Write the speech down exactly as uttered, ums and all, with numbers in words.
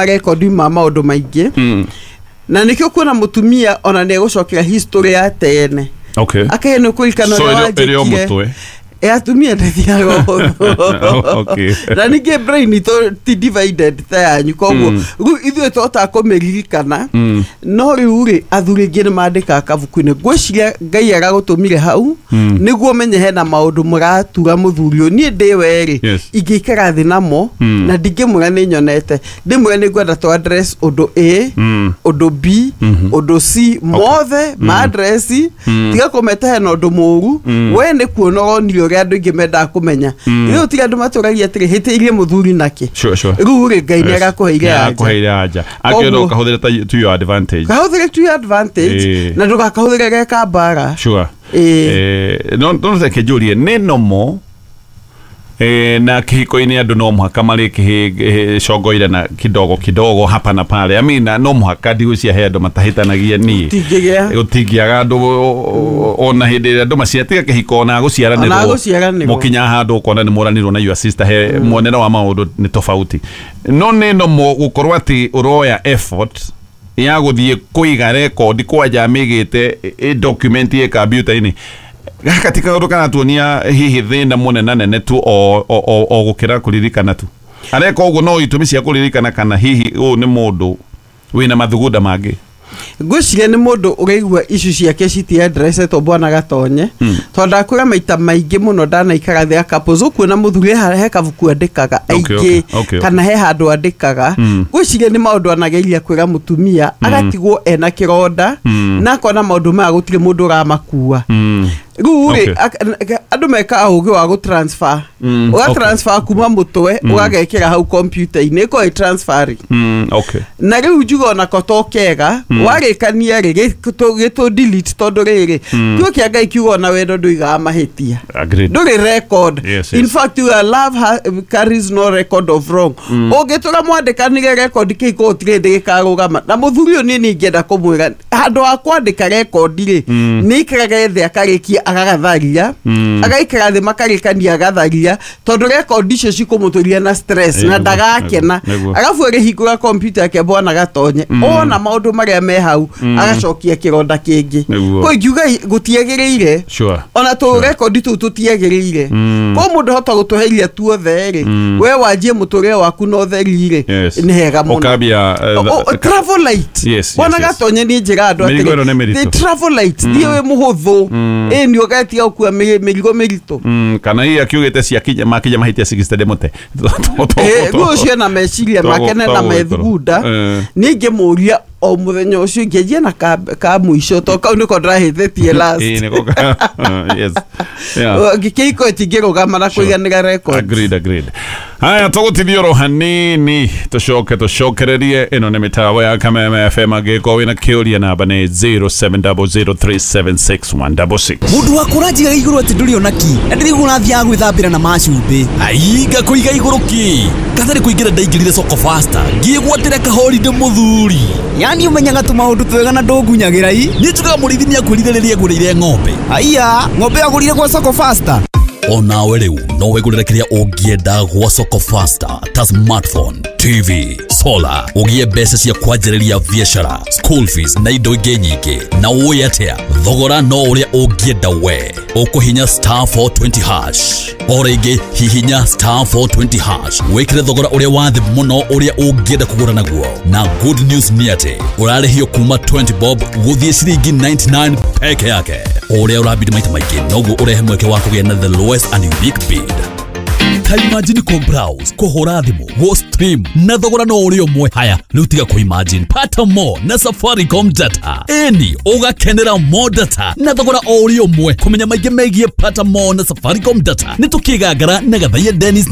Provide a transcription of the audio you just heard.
Marekondi ma maũndũ maingĩ, Mm. na nĩkĩo kuona mũtumia ona nĩ egũcokera history ya tene. Okay. Akae nĩ kũririkana So ũrĩa ĩrĩ ĩrĩ o wanjĩkire. mũtwe. E, atumia ndĩthiaga ũhũthũ. Okay. Na ningĩ brain itũ ti divided ta yanyu, koguo Mm. rĩu ithuĩ tũhotaga kũmĩririkana. Mm. No rĩu rĩ, athuri aingĩ nĩ mandĩkaga kabuku-inĩ. Ngwĩciria Ngai aragũtũmire hau Mm. nĩguo menye hena maũndũ mũratura mũthuri ũyũ. Niĩ ndĩ werĩ, Yes. ingĩikara thĩ namo Mm. na ndingĩmwĩra nĩ nyonete, ndĩmwĩra nĩ ngwenda tũ address ũndũ A, Mm. ũndũ B, Mhm. ũndũ C, mothe ma address. Mm. Tiga kũmeta hena ũndũ mũũru. Mm. We nĩ kuona ũronire ũrĩa andũ aingĩ mendaga kũmenya. Mm. Rĩu tiga andũ matũragia atĩrĩ, hĩtĩirie mũthuri nakĩ? Sure, sure. Rĩu rĩ, Ngai nĩ Yes. arakũheire Nĩ anja. arakũheire anja. Akĩenda Koguo- ũkahũthĩra ta to your advantage. Kahũthĩre to your advantage Ĩĩ. na ndũgakahũthĩre ge kambara. Sure. Ĩĩ. Eh, no no reke njũrie, nĩ nomo eh, na kĩhiko-inĩ andũ no mũhaka marĩ kĩcongoire na kidogo kidogo hapa na pale. I mean, no mũhaka, ndigwĩciria he andũ matahĩtanagia niĩ. Gũtingĩgĩa. Gũtingĩaga andũ ona hĩndĩ ĩrĩa andũ macia tiga kĩhiko, ona gũciaranĩrwo. Ona gũciaranĩrwo. Mũkinya handũ ũkona nĩ mũranirwo na your sister, he muonere wa maũndũ nĩ tofauti. No nĩ nomo gũkorwo atĩ ũroya effort ya gũthiĩ kũiga rekondi kwanja mĩgĩte document ĩ kompiuta-inĩ, gaka ti kaũndũ karatuonia hihi thĩna mũnena nene tu o, o, o, o gũkĩra kũririkana tu? Areka ũguo no itũmi cia kũririkana, kana hihi ũyũ nĩ mũndũ wĩna mathugunda mangĩ? Ngwĩciria nĩ mũndũ ũraigua icu ciake citiaddressetwo, bwana Gatonye, tondũ ndakwĩra maita maingĩ mũno ndanaikara thĩ a couples, ũkuona mũthuri he he kabuku andĩkaga Okay, aingĩ, okay, okay, kana he handũ andĩkaga. Ngwĩciria nĩ maũndũ anageria kwĩra mũtumia, agatigwo ena kĩronda na akona maũndũ maya gũtirĩ mũndũ ũramakua. Mm. Rĩu rĩ, Okay. ak- andũ mekaga ũgĩ wa gũtransfer, Mm, ũgatransfer kuma mũtwe ũgagekĩra hau kompiuta-inĩ, ĩkorwo ĩ transfer. Mm, okay. Na rĩu njuga onako to kega warĩkania rĩ, gĩtũ delete, tondũ rĩrĩ kiugo kĩa Ngai kiuga ona wendo ndũigaga mahĩtia. Agreed. Ndũrĩ record. Yes, yes. In fact, your love ha, carries no record of wrong. Ũngĩtũra mwandĩkanire record, kĩhiko gũtirĩ hĩndĩ gĩkarũgama. Na mũthuri ũyũ, niĩ nĩ ingĩenda kũmwĩra handũ ha kwandĩka record rĩ, nĩ aikarage thĩ akarĩkia agagatharia, agaikara thĩ makarĩkania agatharia, tondũ record icio cikũmũtũria na stress na Nĩguo, ndagakena. nĩguo. Arabu agĩhingũra kompiuta yake, bwana Gatonye, ona maũndũ marĩa me hau agacokia kĩronda kĩngĩ. Nĩguo. Kwa ingiuga gũtiagĩrĩire. Sure. Ona tũ rekondi tũu tũtiagĩrĩire. Ko mũndũ hota gũtũheria tuothe rĩ, we wanjie mũtũrĩre waku na ũtheri rĩ, Yes. nĩ hega mũno. Ũkambia, eh, O- o- travel light. Yes, yes, Bwana yes. Gatonye, niĩ njĩra andũ Mĩrigo ĩno nĩ atĩrĩ, mĩritũ. they travel light, thiĩ wĩ mũhũthũ, ĩ nĩ ũgetia gũkua mĩ- mĩrigo mĩritũ. Mm, kana hihi akiugĩte ciakinya makinya mahĩtia mĩrongo mũgwanja ndĩmũte. Eh, rĩu ũcio na meciria make na na methugunda. Eh. Niĩ ingĩmũria o mũthenya ũcio ingĩanjia na ka, ka mũico, to kau nĩko ndĩrahĩtĩtie last. Ĩĩ, nĩko ka- yes. Yeah. Kĩhiko tingĩrũgama na kũiganĩra records. Agreed, agreed. Haya, tũgũtithia oro hanini tũcoke tũcokererie. Ĩno nĩ mĩtambo ya Kameme F M. Angĩkorwo wĩna kĩũria, namba nĩ zero seven zero zero three seven six one six six. Mundu wa kũranjiga igũrũ atĩ ndũrĩ ona ki na ndĩrĩguo ũrathiaga gwĩthambĩra na macumbĩ. Ainga kũiga igũrũ ki katarĩ kũingĩra, ndaingĩrire Soko Fasta ngĩgwatĩra kahorinde mũthuri. Yani ũmenyaga tũmaũndũ twega na ndũngunyagĩra i. Niĩ njugaga mũrĩithi nĩakwĩrire rĩrĩa ngũrĩire ng'ombe. Aiya, ng'ombe agũrire gwa Soko Fasta? Onawe rĩu no wĩgũrĩre kĩrĩa ũngĩenda gwa Soko Fasta, ta smartphone, T V, solar, ũgĩe mbeca cia kwanjĩrĩria biacara, school fees na indo ingĩ nyingĩ. Na ũĩ atĩa, thogora no ũrĩa ũngĩenda we. Ũkũhinya star four twenty hash. O rĩngĩ, hihinya star four twenty hash, wĩkĩre thogora ũrĩa wa thĩ mũno ũrĩa ũngĩenda kũgũra naguo. Na good news nĩ atĩ ũrarĩhio kuma twenty bob gũthiĩ ciringi mĩrongo kenda na kenda peke yake. O ũrĩa ũrabidi maita maingĩ, noguo ũrehe mweke wa kũgĩa na the lowest and unique bid. Ta imagine kũ browse, kũhũra thimũ, gũ stream na thogora no ũrĩ ũmwe. Haya rĩu, tiga kũ imagine, pata more na Safaricom data. Ĩni, ũgakenera more data na thogora o ũrĩ ũmwe. Kũmenya maingĩ megiĩ pata more na Safaricom data, nĩ tũkĩgangara na Gathaiya Dennis.